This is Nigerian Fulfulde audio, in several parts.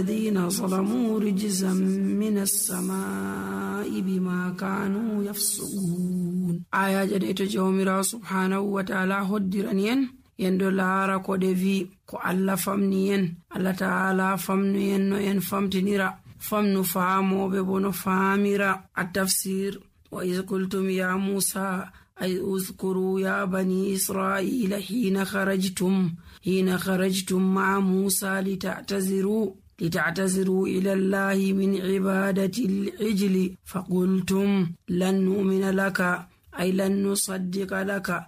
الذين ظلموا رجزا من السماء بما كانوا يفسقون. آية جديدة جوميرا سبحانه وتعالى هدرانين yendo laara ko de vi ko Allah famni en, Allah ta'ala famnu en no en famtinira, famnu faamoɓe bo no faamira. At-tafsir: wa iz qultum ya Musa ay uzkuru ya bani Israila hina kharajtum ma'a Musa lita'taziru ila Allahi min ibadati al-ijli faqultum lan nu'mina laka ay lan nusaddiqa laka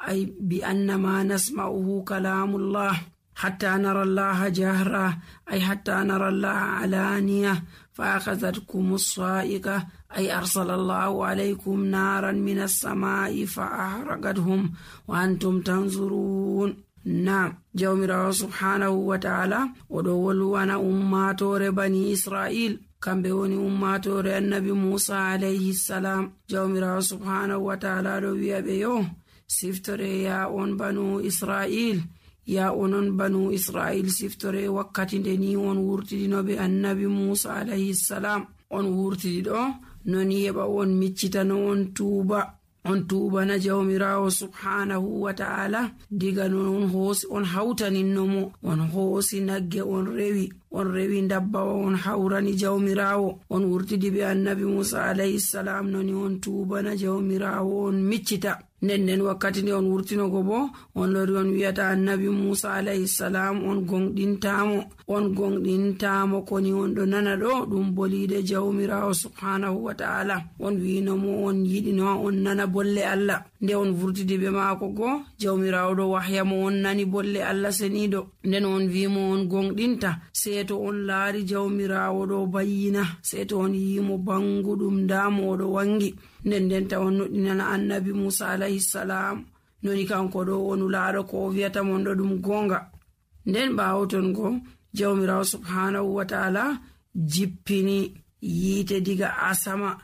أي بأن ما نسمعه كلام الله حتى نرى الله جهرة، أي حتى نرى الله علانية. فأخذتكم الصائقة أي أرسل الله عليكم نارا من السماء فأحرقتهم وأنتم تنظرون. نعم، جوميرا سبحانه وتعالى ودولوا أنا أماتور بني إسرائيل kambe woni ummatore annabi Musa alayhi salam. Jawmirawo subhanahu wa ta'ala do wi'abe yo siftore ya on banu Israil, ya onon banu Israil siftore wakkati nde ni on wurtidinobe annabi Musa alayhi salam. On wurtidi do noni heba on miccitano on tuuba na jawmirawo subhanahu wa ta'ala. Diga non hoosi on hawtaninnomo, on hoosi nagge on rewi ndabbawa on hawrani jawmirawo. On wurtidi be annabi Musa alayhi salam noni on tuuba na jawmirawo on miccita. Nden wakkati nde on wurtinogo bo on lori on wiyata annabi Musa alayhi salam on gonɗintamo koni on ɗo nana ɗo ɗum bolide jawmirawo subhanahu wa ta'ala. On winomo on yiɗino on nana bolle Allah. Nde on vurtidi be maako go jawmirawo ɗo wahyamo on nani bolle Allah seniɗo. Nden on wimo on gonɗinta seeto on laari jawmirawo ɗo bayyina, seeto on yimo banguɗum ndamo oɗo wangi. Nden ta on noddinana annabi Musa alayhi salam noni kanko ɗo on laaro ko o wiyata mon ɗo ɗum gonga. Nden ɓawo ton go jawmirawo subhanahu wa ta'ala jippini yiite diga asama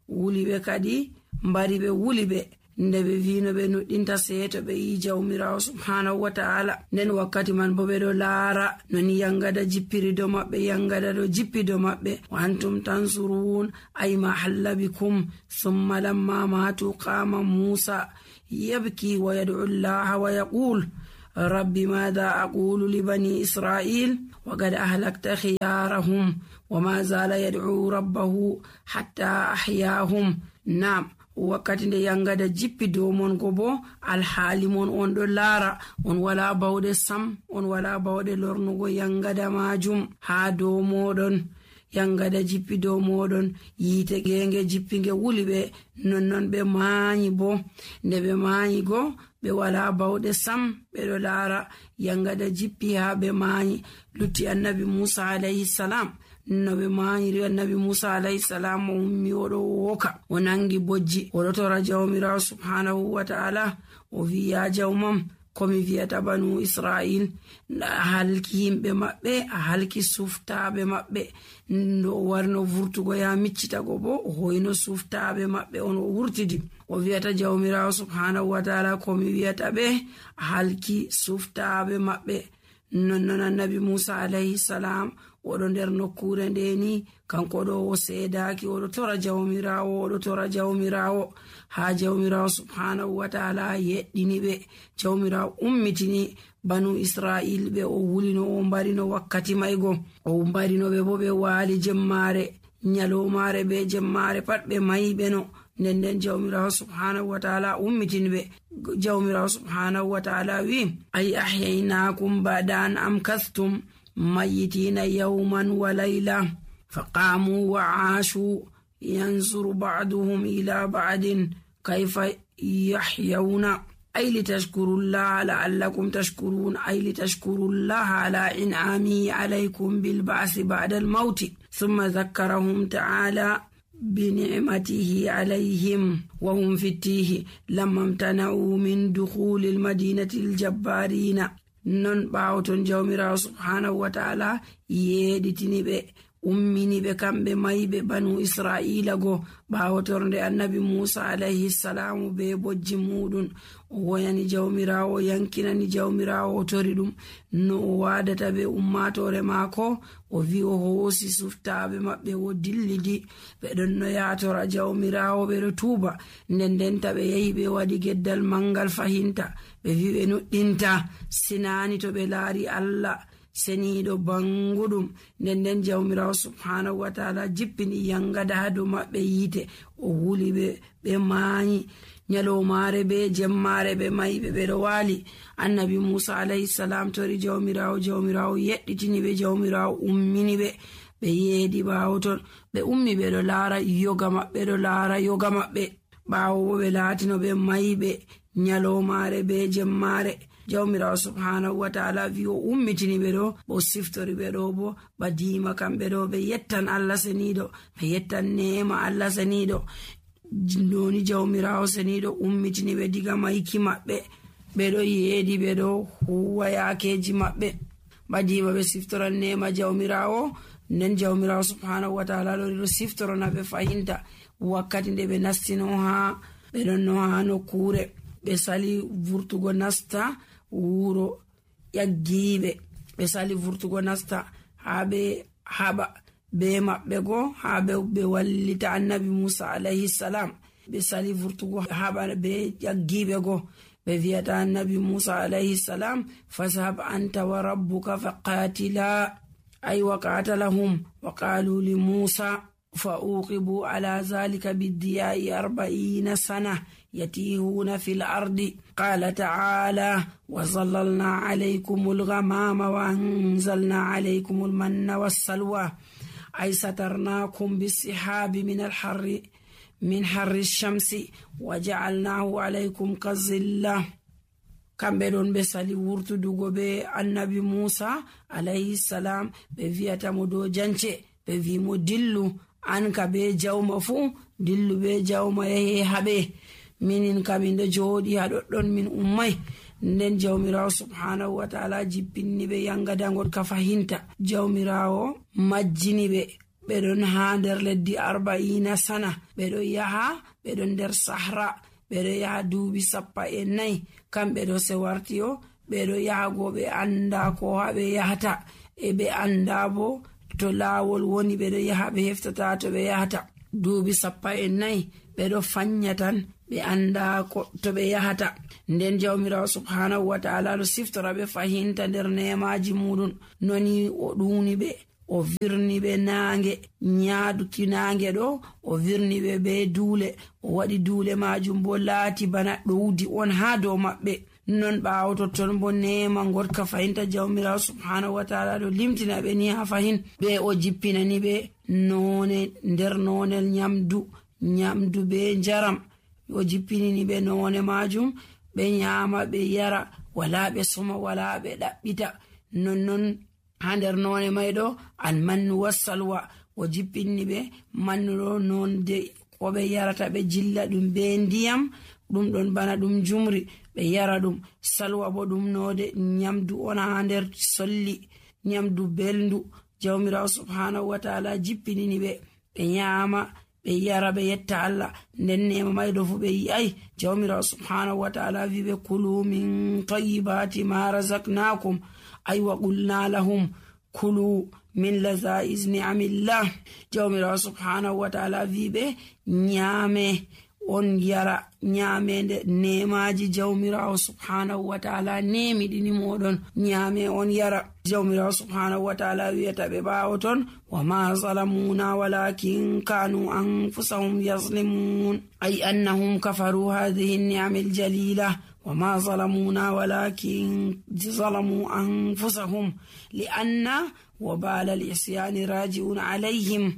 wuliɓe kadi mbari ɓe wuliɓe nde ɓe vino ɓe nuɗɗinta seeto ɓe yi jawmirawo subhanahu wa ta'ala. Nden wakkati man bo ɓe ɗo laara noni yangada jippiri do maɓɓe, yangada ɗo jippi do maɓɓe. wa antum tansurun ay ma halla bikum. thumma lamma matu qama Musa yabki wa yad'u Allah wa yaqul rabbi madha aqulu li bani Israil wa qad ahlakta khiyarahum wa ma zala yad'u rabbahu hatta ahyahum. Naam, wakkati nde yangada jippi dow mon go bo alhaali mon on ɗo laara, on wala bawɗe sam, on wala bawɗe lornugo yangada majum ha dow moɗon. Yangada jippi dow moɗon, yiite genge jippi nge wuli ɓe, nonnon ɓe maanyi bo. Nde ɓe maanyi go ɓe wala bawɗe sam, ɓe ɗo laara yangada jippi ha ɓe maanyi. Lutti annabi Musa alayhi salam no ɓe maanyiri annabi Musa alayhi salam o ummi oɗo woka, o nangi bojji, oɗo tora jawmirawo subhanahu wa ta'ala. O wi ya jawmam, komi wiyata banu Israil a halki yimɓe maɓɓe, a halki suftaɓe maɓɓe. Ndo warno vurtugo ya miccitago bo o hoyno suftaɓe maɓɓe on o wurtidi. O wiyata jawmirawo subhanahu wa ta'ala komi wiyata ɓe a halki suftaɓe maɓɓe. Nonnon annabi Musa alayhi salam oɗo nder nokkure ndeni kanko ɗo o seedaki, oɗo tora jawmirawo ha jawmirawo subhanahu wa ta'ala yeɗɗini ɓe. Jawmirawo ummitini banu Israil ɓe o wulino o mbarino wakkati maygo, o mbarino ɓe bo ɓe waali jemmare, nyalomare be jemmare pat ɓe mayi ɓe no. Nden jawmirawo subhanahu wa ta'ala ummitini ɓe. Jawmirawo subhanahu wa ta'ala wi ay ahyaynakum ba'da an amkathtum mayitina yawman wa layla faqamu wa aashu yanzuru ba'duhum ila ba'din kayfa yahyawna ay litashkurullaha la'allakum tashkurun ay litashkurullaha ala in'amihi alaykum bil ba'thi ba'da al mawti thumma dhakkarahum ta'ala بنعمته عليهم وهم في التيه لما امتنعوا من دخول المدينة الجبارين. non ɓawo ton jawmirawo subhanahu wa ta'ala yeɗitini ɓe ummini ɓe kamɓe mayɓe banu israila go ɓawo torde annabi musa alayhi salamu be bojji muɗum. O woyani jawmirawo, yankinani jawmirawo, o tori ɗum no o wadata be ummatore maako. O wi o hoosi suftaɓe maɓɓe o dillidi ɓe ɗon no yatora jawmirawo, ɓeɗo tuuba. Ndendenta ɓe yahi ɓe waɗi geddal mangal fahinta, ɓe wi ɓe nuɗɗinta sinani to ɓe laari Allah seniɗo banguɗum. Nden jawmirawo subhanahu wa ta'ala jippini yangada ha dow maɓɓe yite, o wuli ɓe mayi nyalomare be jemmare ɓe mayiɓe ɓeɗo wali. Annabi musa alayhi salam tori jawmirawo yeɗɗitini ɓe, jawmirawo ummini ɓe yeedi ɓawo ton ɓe ummi ɓeɗo laara yoga maɓɓe ɓawo bo ɓe laatino ɓe mayiɓe nyalomare be jemmare. jawmirawo subhanahu wa ta'ala wi o ummitini ɓe ɗo bo siftori ɓe ɗo bo badima kamɓe ɗo ɓe yettan Allah seniɗo, ɓe yettan nema Allah seniɗo. Doni jawmirawo seniɗo ummitini ɓe diga mayki maɓɓe, ɓeɗo yeedi ɓeɗo huwa yakeji maɓɓe, badima ɓe siftoran nema jawmirawo. Nden jawmirawo subhanahu wa ta'ala ɗo siftorona ɓe fahinta wakkati nde ɓe nastino ɓe ɗon no ha nokkure ɓe sali vurtugo nasta wuro ƴaggiɓe, ɓe sali vurtugo nasta ha ɓe haɓa be maɓɓe go ha ɓe wallita annabi musa alayhi salam. ɓe sali vurtugo haɓa be ƴaggiɓe go, ɓe wiyata annabi musa alayhi salam fashab anta wa rabbuka faqatila ay wa qatalahum wa qalu li musa فأوقبوا على ذلك بالدياء 40 سنة يتيهون في الأرض. قال تعالى وظللنا عليكم الغمام وأنزلنا عليكم المن والسلوى أي سترناكم بالسحاب من حر الشمس وجعلناه عليكم كالظلة. kamɓe ɗon ɓe sali wurtudugo be annabi musa alayhi salam, ɓe wiyatamo dow jance, ɓe wimo dillu an ka be jawma fuu, dillu be jawma yahe haɓe, minin kamin ɗo jooɗi haɗoɗɗon min ummay. Nden jawmirawo subhanahu wa ta'ala jippinni ɓe yangadangol ka fahinta. jawmirawo majjini ɓe ɗon ha nder leddi 40 sana, ɓeɗo yaha ɓeɗon nder sahra, ɓeɗo yaha duuɓi 14 kamɓe ɗo se wartiyo ɓeɗo yaha go ɓe anda ko ha ɓe yahata, e ɓe anda bo to laawol woni, ɓeɗo yaha ɓe heftata to ɓe yahata. duuɓi 14 ɓeɗo fanya tan ɓe anda ko to ɓe yahata. Nden jawmirawo subhanahu wa ta'ala ɗo siftora ɓe fahinta nder nemaji muɗum noni o ɗuni ɓe, o virni ɓe nange, nyaduki nange ɗo o virni ɓe be duule, o waɗi duule majum bo laati bana ɗowdi on ha dow maɓɓe. non ɓawo totton bo nema gotka fahinta jawmirawo subhanahu wa ta'ala ɗo limtina ɓe ni ha fahin ɓe o jippinani ɓe none nder nonel nyamdu be njaram, o jippinini ɓe none majum, ɓe nyama ɓe yara, wala ɓe soma wala ɓe ɗaɓɓita. non ha nder none mayɗo almannu wassalwa, o jippinni ɓe mannuɗo nonde ko ɓe yarata, ɓe jilla ɗum be ndiyam ɗum ɗon bana ɗum jumri, ɓe yara ɗum. salwa bo ɗum node nyamdu on ha nder solli, nyamdu belndu. jawmirawo subhanahu wa ta'ala jippinini ɓe nyama ɓe yara ɓe yetta Allah. nden nema mayɗo fu ɓe yi'ai jawmirawo subhanahu wa ta'ala wi ɓe kulu min tayyibati ma razaqnakum ay wa qulna lahum kulu min lazaiz ni'amillah. jawmirawo subhanahu wa ta'ala wi ɓe nyame on yara nyamende nemaji jawmirawo subhanahu wa ta'ala nemi ɗini moɗon, nyame on yara. jawmirawo subhanahu wa ta'ala wiyata ɓe ɓawo ton wa ma zalamuna walakin kanu anfusahum yazlimun ay annahum kafaru hadhihi ni'am aljalila wa ma zalamuna walakin zalamu anfusahum li'anna wabala al-isyani raji'un alayhim.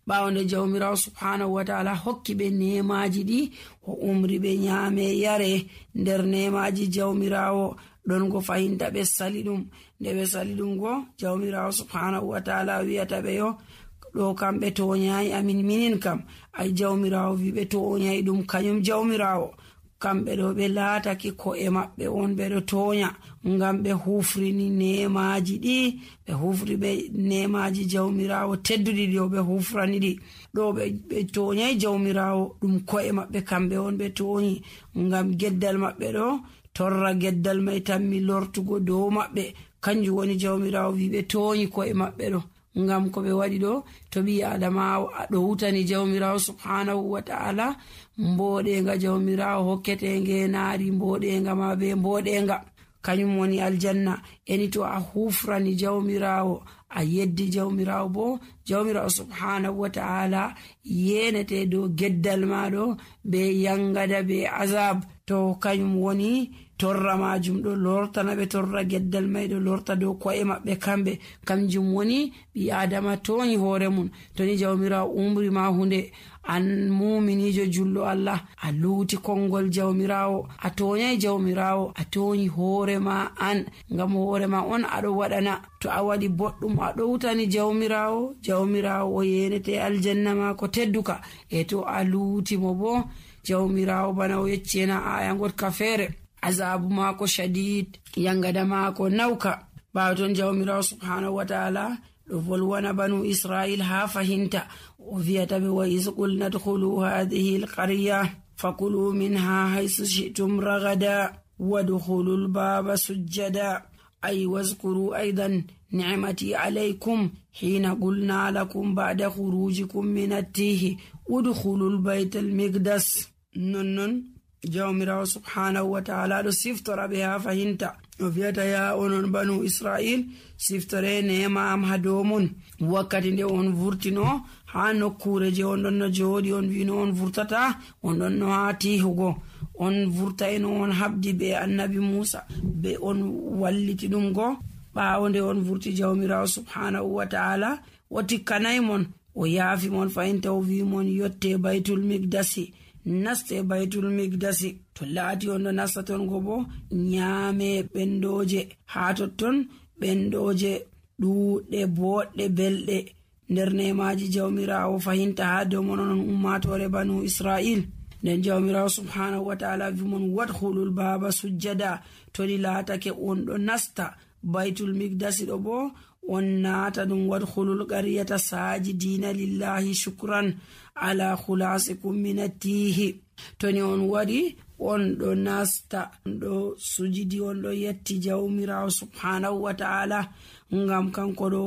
ɓawonde jawmirawo subhanahu wa ta'ala hokki ɓe nemaji ɗi, o umri ɓe nyame yare nder nemaji jawmirawo ɗon go fahinta ɓe sali ɗum. nde ɓe sali ɗum go jawmirawo subhanahu wa ta'ala wiyata ɓe yo ɗo kam ɓe toñayi amin minin kam. ay jawmirawo wi ɓe toñayi ɗum kañum jawmirawo kamɓe ɗo ɓe laatake ko'e maɓɓe on ɓe ɗo toonya ngam ɓe hufrini nemaji ɗi, ɓe hufri ɓe nemaji jawmirawo tedduɗi ɗo ɓe hufrani ɗi ɗo ɓe toonyai jawmirawo, ɗum ko'e maɓɓe kamɓe on ɓe toonyi ngam geddal maɓɓe ɗo torra geddal mai tammi lortugo dow maɓɓe. Kanjum woni jawmirawo wi ɓe toonyi ko'e maɓɓe ɗo ngam ko ɓe waɗi ɗo. To ɓi adama ɗo wutani jawmirawo subhanahu wa ta'ala, mboɗenga jawmirawo hokkete ngenaari mboɗenga ma be mboɗenga, kañum woni aljanna. Eni to a hufrani jawmirawo, a yeddi jawmirawo, bo jawmirawo subhanahu wa ta'ala yenete dow geddal maɗo be yangada be azab. To kañum woni torra majum ɗo lortana ɓe, torra geddal mai ɗo lorta dow ko'e maɓɓe kamɓe. Kanjum woni ɓi adama toñi hoore mum. To ni jawmirawo umri ma hunde, an muminijo jullo Allah, a luuti konngol jawmirawo, a toñai jawmirawo, a toñi hoore ma an, ngam hoore ma on aɗo waɗana. To a waɗi boɗɗum aɗo wutani jawmirawo, jawmirawo o yenete aljanna ma ko tedduka. E to a luuti mo bo jawmirawo bana o yeccena aya gotka feere, azabu maako shadid, yangada maako nawka. ɓaawo ton jawmirawo subhanahu wa ta'ala ɗo volwana banu israil ha fahinta, o wiyata ɓe wa is qulna dkhulu hadhihi alqarya fakulu minha haythu shi'tum ragada wadkhulu albaba sujjada ay wazkuru aidan ni'mati alaykum hina qulna lakum ba'da khurujikum min at-tihi udkhulu albayta almiqdas. non jawmirawo subhanahu wa ta'ala ɗo siftora ɓe ha fahinta, o wiyata ya onon banu israil, siftore nema am ha dow mon wakkati nde on vurtino ha nokkure je on ɗon no jooɗi, on wino on vurtata, on ɗon no ha tihugo, on vurtaino on habdi be annabi Musa, be on walliti ɗum go. ɓaawo nde on vurti jawmirawo subhanahu wa ta'ala o tikkanay mon, o yaafi mon fahinta, o wi mon yotte baytul miqdasi, naste baytul miqdasi. To laati on ɗo nasta ton go bo nyaame ɓendoje ha totton, ɓendoje ɗuɗɗe boɗɗe belɗe nder nemaji jawmirawo fahinta ha dow mon on ummatore banu israil. nden jawmirawo subhanahu wa ta'ala wi mon wadkhulul baba sujjada. to ɗi laatake on ɗo nasta baytul miqdasi ɗo bo on naata ɗum wadkhulul qaryata sajidina lillahi shukran ala khulasikum min at-tihi. to ni on waɗi on ɗo nasta, on ɗo sujidi, on ɗo yetti jawmirawo subhanahu wa ta'ala ngam kanko ɗo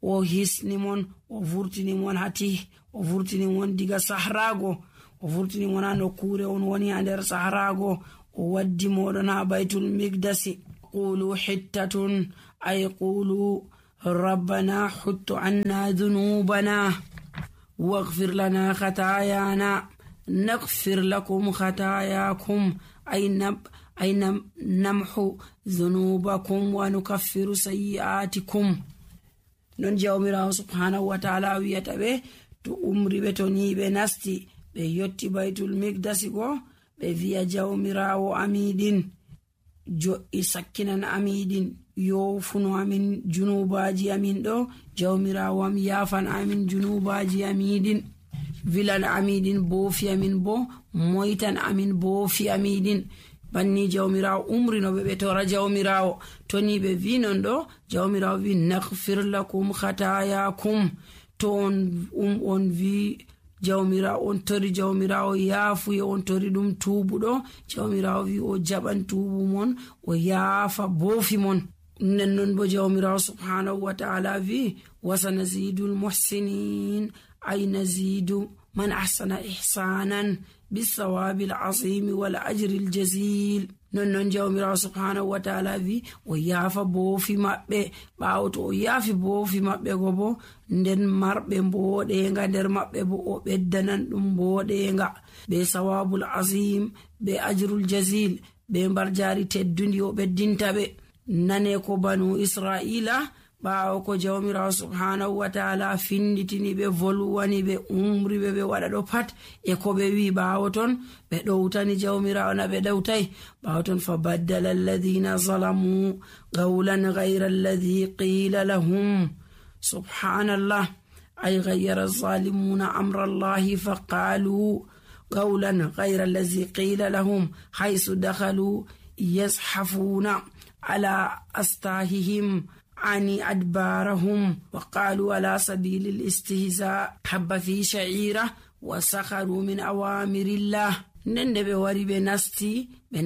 o hisni mon, o vurtini mon hati, o vurtini mon diga sahrago, o vurtini mon ha nokkure on woni ha nder sahrago, o waddi moɗon ha baytul miqdasi. qulu hittatun ay qulu rabbana huttu anna dhunubana waghfir lana khatayana naghfir lakum khatayakum ay namhu dhunubakum wa nukaffiru sayyi'atikum. non jawmirawo subhanahu wa ta'ala wiyata ɓe to umri ɓe, to ni ɓe nasti ɓe yotti baytul miqdasi go, ɓe wiya jawmirawo amiɗin jo'i sakkinan amiɗin, yofuno amin junubaji amin ɗo, jawmirawo am yafan amin junubaji amiɗin, vilan amiɗin boofi amin bo, moytan amin boofi amiɗin. banni jawmirawo umrinoɓe ɓe tora jawmirawo. to ni ɓe vi non ɗo, jawmirawo wi naghfir lakum khatayakum. to on vi jawmirawo, on tori jawmirawo yaafuye, on tori ɗum tuubuɗo, jawmirawo wi o jaɓan tuubu mon, o yaafa boofi mon. nden non bo jawmirawo subhanahu wa ta'ala wi wasanazidul muhsinin ay nazidu man ahsana ihsanan bisawabil azimi wal ajril jazil. non jawmirawo subhanahu wa ta'ala wi o yaafa boofi maɓɓe. ɓaawo to o yaafi boofi maɓɓe go bo, nden marɓe mboɗenga nder maɓɓe bo o ɓeddanan ɗum mboɗenga be sawabul azim be ajrul jazil, be mbarjari teddundi o ɓeddinta ɓe. nane ko banu israila ɓaawo ko jawmirawo subhanahu wa ta'ala finditini ɓe, volwani ɓe, umri ɓe, ɓe waɗa ɗo pat e ko ɓe wi. ɓaawo ton ɓe ɗowtani jawmirawo na ɓe ɗowtai. ɓaawo ton fa baddala alladhina zalamu qawlan ghayra alladhi qila lahum. subhanallah ay ghayyara zalimuna amra allahi fa qalu qawlan ghayra allazi qila lahum haythu dakhalu yazhafuna ala astahihim ani adbarahum wa qalu ala sabilil istihza habba fi sha'ira wa sakharu min awamirillah. Nende ɓe wari ɓe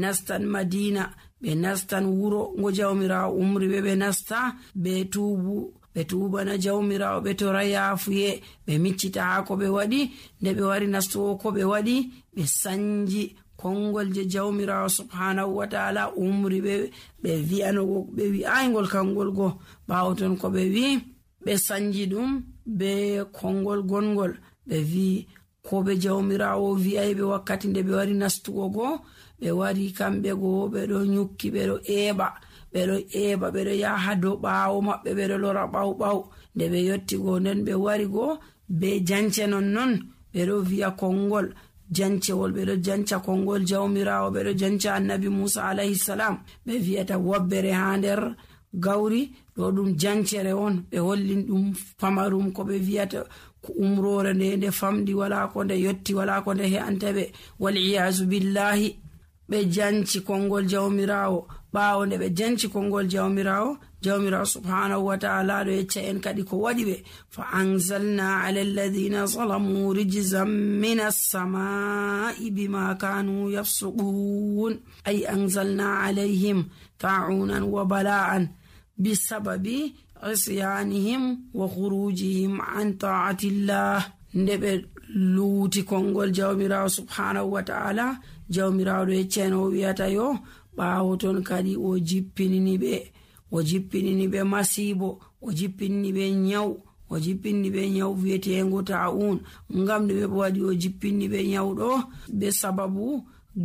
nastan Madina, ɓe nastan wuro ngo jawmirawo umri ɓe nasta ɓe tuubana jawmirawo ɓe tora yaafuye ɓe miccita ha ko ɓe waɗi. Nde ɓe wari nastuwo ko ɓe waɗi, ɓe sanji kongol je jawmirawo subhanahu wa ta'ala umri ɓe wi'anogo ɓe wi'aygol kangol go. ɓawo ton ko ɓe wi ɓe sanji ɗum be kongol gongol, ɓe wi ko ɓe jawmirawo wi'ay ɓe wakkati nde ɓe wari nastugo go. ɓe wari kamɓe go ɓeɗo nyukki, ɓeɗo eɓa ɓeɗo yaha dow ɓawo maɓɓe, ɓeɗo lora ɓaw nde ɓe yotti go. nden ɓe wari go be jance non ɓeɗo wi'a kongol jancewol, ɓeɗo janca kongol jawmirawo, ɓeɗo janca annabi Musa alayhi salam. ɓe wi'ata wabbere ha nder gawri ɗo ɗum jancere on. ɓe hollin ɗum pamarum ko ɓe wi'ata umrore nde famdi, wala ko nde yotti, wala ko nde he'anta ɓe, wal iyazu billahi. ɓe janci kongol jawmirawo. ɓawo nde ɓe janci kongol jawmirawo subhanahu wa ta'ala ɗo yecca en kadi ko waɗi ɓe. fa anzalna ala alladhina zalamu rijzan minas samai bima kanu yafsuqun, ay anzalna alayhim ta'unan wa bala'an bisababi isyanihim wa khurujihim an ta'atillah. nde ɓe luuti kongol jawmirawo subhanahu wa ta'ala, jawmirawo ɗo yecca en o wi'ata yo ɓawo ton kadi o jippinini ɓe masibo, o jippinni ɓe nyaw wi'etengo ta'un. ngam nde ɓe waɗi o jippinni ɓe nyaw ɗo be sababu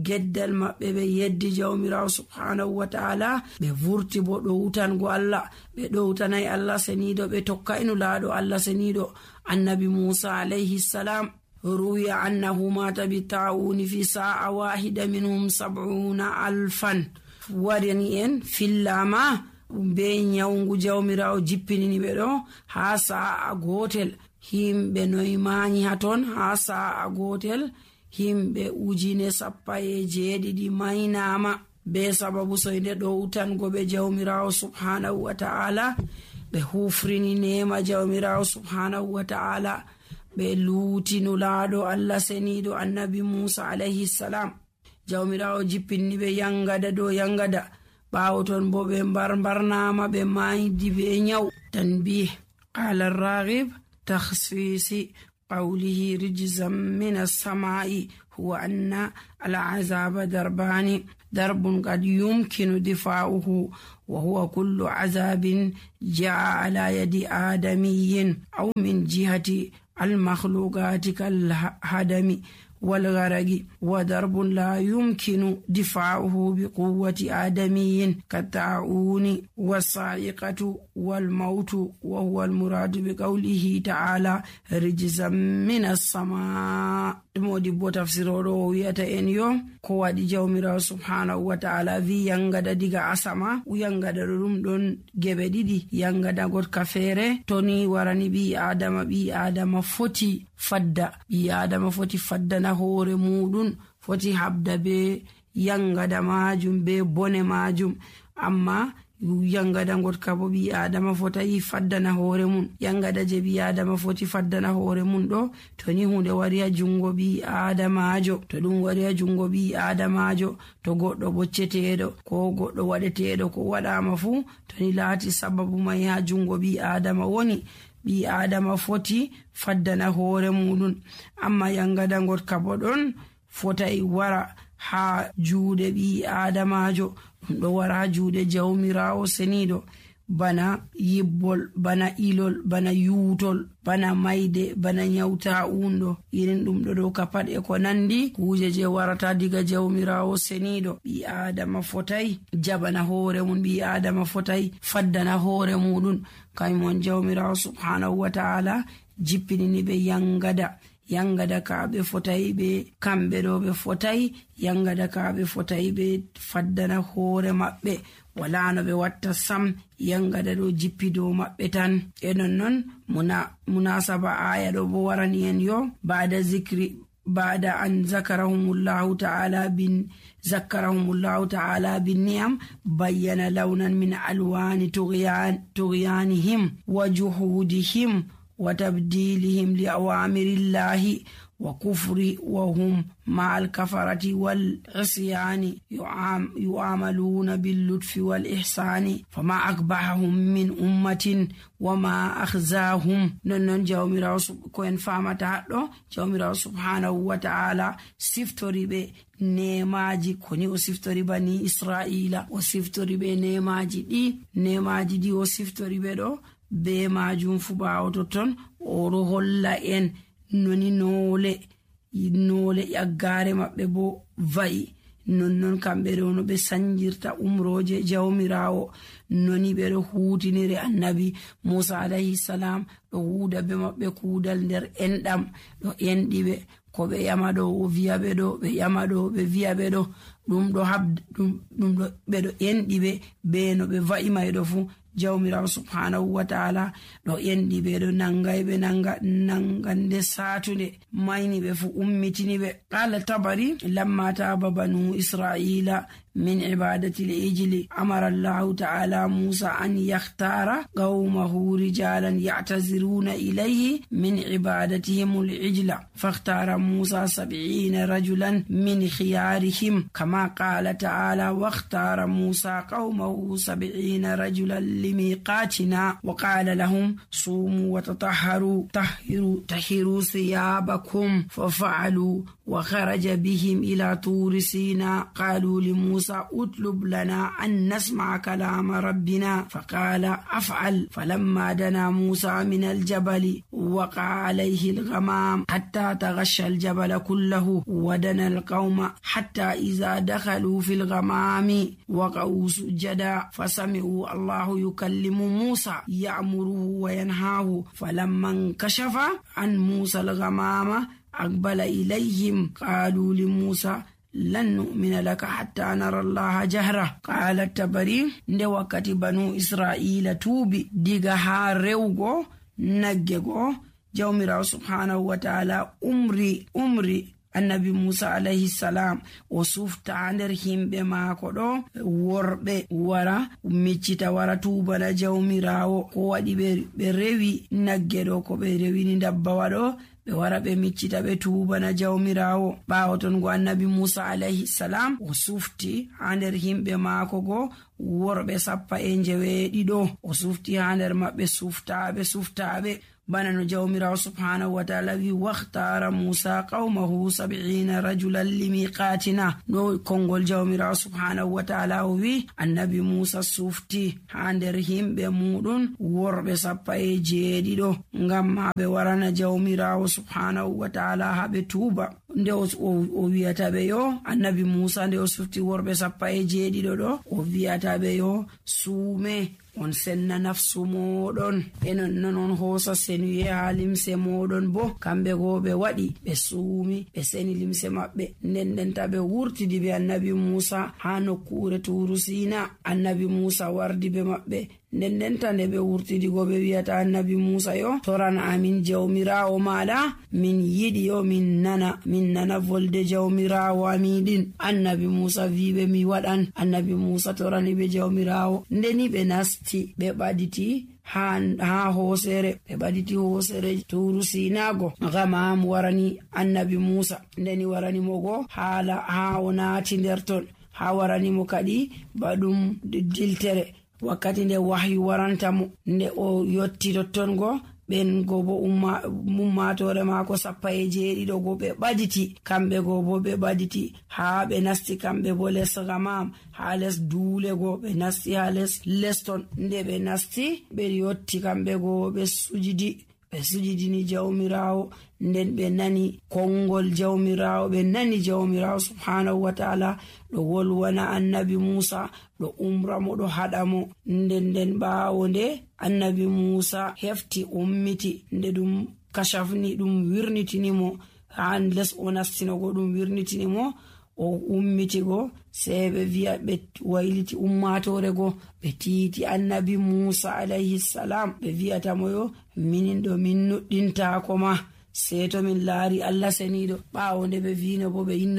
geddal maɓɓe ɓe yeddi jawmirawo subhanahu wa ta'ala, ɓe vurti bo ɗowutango Allah, ɓe ɗowtanay Allah seniɗo, ɓe tokkayno laaɗo Allah seniɗo annabi Musa alayhi salam. ruwiya annahu mata bi ta'uni fi sa'a wahida minhum 70,000. warani en fillama be nyawngu jawmirawo jippinini ɓe ɗo ha sa'a gotel. himɓe noy mañi haton ha sa'a gotel, himɓe 17,000 maynama be sababu soyde ɗowtango ɓe jawmirawo subhanahu wa ta'ala. ɓe hufrini nema jawmirawo subhanahu wa ta'ala, ɓe luutino laaɗo Allah seniɗo annabi Musa alayhi salam. jawmirawo jippinni ɓe yangada dow yangada. ɓawo ton bo ɓe mbarnama, ɓe maydi be nyaw. tanbih qala ar-raghib takhsisi qawlihi rijzan min as-sama'i huwa anna al-azaba darbani darbun qad yumkinu difa'uhu wa huwa kullu azabin ja'a ala yadi adamiyyin aw min jihati al-makhluqati kal-hadami والغرق وضرب لا يمكن دفاعه بقوة آدمي كالطاعون والصاعقة والموت وهو المراد بقوله تعالى رجزا من السماء. modi bo tafsiroro wiyata en yo ko waɗi jawmirawo subhanahu wa ta'ala wi yangada diga asama. yangada ɗum ɗon geɓe ɗiɗi, yangada gotka feere toni warani ɓi adama foti faddana hoore muɗum, foti habda be yangada majum be bone majum. amma yangada gotka bo ɓi adama fotayi faddana hoore mum. yangada je ɓi adama foti faddana hoore mum ɗo to ni hunde wari ha jungo ɓi adamajo, to ɗum wari ha jungo ɓi adamajo, to goɗɗo bocceteɗo ko goɗɗo waɗeteɗo ko waɗama fu, to ni laati sababu mai ha jungo ɓi adama woni, ɓi adama foti faddana hoore muɗum. amma yangada gotka bo ɗon fotai wara ha juuɗe ɓi adamajo, ɗum ɗo wara ha juuɗe jawmirawo seniɗo, bana yibbol, bana ilol, bana yuutol, bana mayde, bana nyawta unɗo. irin ɗum ɗo ka pat e ko nandi kuje je warata diga jawmirawo seniɗo. ɓi adama fotai jabana hoore mum, ɓi adama fotai faddana hoore muɗum. kaymon jawmirawo subhanahu wa ta'ala jippinini ɓe yangada kaɓe fotai ɓe kamɓe ɗo ɓe fotai yangada kaɓe fotai ɓe faddana hoore maɓɓe, wala no ɓe watta sam. yangada ɗo jippi dow maɓɓe tan. e nonnon munasaba aya ɗo bo warani en yo bada zikri بعد أن ذكرهم الله تعالى بالنعم بين لونا من ألوان طغيانهم وجحودهم وتبديلهم لأوامر الله وكفر، وهم مع الكفرة والعصيان يعاملون باللطف والإحسان، فما أقبحهم من أمة وما أخزاهم. نون جاوميراو كوين فامتا دو جاوميراو سبحانه وتعالى سفتوري به nemaji koni o siftori bani Israila, o siftori be nemaji ɗi o siftori be ɗo be majum fu ɓawo totton oɗo holla en noni noole yaggare maɓɓe bo va'i, nonnon kamɓe ɗo no ɓe sanjirta umroje jawmirawo, noni ɓe ɗo hutinire annabi Musa alayhi salam ɗo huuda be maɓɓe kuudal nder enɗam ɗo enɗiɓe ko ɓe yama ɗo o viya ɓe ɗo, ɓe yama ɗo ɓe viya ɓe ɗo, ɗum ɗo ɓe ɗo enɗiɓe be no ɓe va'i mayɗo fu. jawmirawo subhanahu wa ta'ala ɗo enɗi ɓe ɗo nangay ɓe nangande satunde mayni ɓe fu ummitini ɓe. qala tabari lamma taba banu israila min ibadati al-ijli amara Allahu ta'ala Musa an yakhtara qawmahu rijalan ya'taziruna ilayhi min ibadatihim al-ijla fakhtara Musa 70 rajulan min khiyarihim kama qala ta'ala wakhtara Musa qawmahu 70 rajulan limiqatina wa qala lahum sumu wa tahiru thiyabakum fafa'alu wa kharaja bihim ila turi Sina qalu li Musa اطلب لنا أن نسمع كلام ربنا فقال أفعل. فلما دنا موسى من الجبل وقع عليه الغمام حتى تغشى الجبل كله ودنا القوم حتى إذا دخلوا في الغمام وقعوا سجدا فسمعوا الله يكلم موسى يأمره وينهاه فلما انكشف عن موسى الغمام أقبل إليهم قالوا لموسى lan nu'mina laka hatta nara Allah jahra. qala tabari nde wakkati banu Israila tuubi diga ha rewgo nagge go, jawmirawo subhanahu wa ta'ala umri annabi Musa alayhi salam o sufta nder himɓe maako ɗo worɓe wara miccita wara tuubana jawmirawo. ko waɗi ɓe rewi nagge ɗo ko ɓe rewini dabbawa ɗo ɓe wara ɓe miccita ɓe tuubana jawmirawo. ɓawo ton go annabi Musa alayhi salam o sufti ha nder himɓe maako go worɓe 90 o sufti ha nder maɓɓe suftaɓe bana no jawmirawo subhanahu wa ta'ala wi wakhtara Musa qawmahu 70 rajulan limiqatina. no kongol jawmirawo subhanahu wa ta'ala o wi annabi Musa sufti ha nder himɓe muɗum worɓe 70 ngam ma ɓe warana jawmirawo subhanahu wa ta'ala ha ɓe tuuba. nde o wiyata ɓe yo annabi Musa nde o sufti worɓe 70 ɗo o wiyata ɓe yo suume on senna nafsu moɗon enon non on hosa senuye ha limse moɗon. bo kamɓe go ɓe waɗi ɓe suumi ɓe seni limse maɓɓe ndendenta ɓe wurtidi be annabi Musa ha nokkure turu Sina. annabi Musa wardi be maɓɓe ndendenta nde ɓe wurtidi go ɓe wiyata annabi Musa yo toran amin jawmirawo maɗa min yiɗi yo min nana volde jawmirawo aminɗin. annabi Musa wiɓe mi waɗan. annabi Musa torani ɓe jawmirawo ndeni ɓe nasti ɓe ɓaditi ha hoosere ɓe ɓaditi hoosere turu Sinago. gamam warani annabi Musa ndeni warani mo go haala ha o naati nder ton, ha warani mo kadi baɗum diltere wakkati nde wahyu warantamo. nde o yotti totton go ɓen go bo ummatore maako 70 go ɓe ɓaditi, kamɓe go bo ɓe ɓaditi ha ɓe nasti kamɓe bo les gamam ha les duule go ɓe nasti ha les ton. nde ɓe nasti ɓe yotti kamɓe go ɓe sujidini jawmirawo. nden ɓe nani kongol jawmirawo, ɓe nani jawmirawo subhanahu wa ta'ala ɗo wolwana annabi Musa ɗo umra mo ɗo haɗa mo. nden ɓawo nde annabi Musa hefti ummiti nde ɗum kashafni ɗum wirnitini mo ha les o nastinogo ɗum wirnitini mo o ummiti go sei ɓe wiya ɓe wayliti ummatore go ɓe tiiti annabi Musa alayhi salam ɓe wiyata mo yo minin ɗo min nuɗɗintako ma sey to min laari Allah seniiɗo ɓaawo nde ɓe vino bo ɓe inno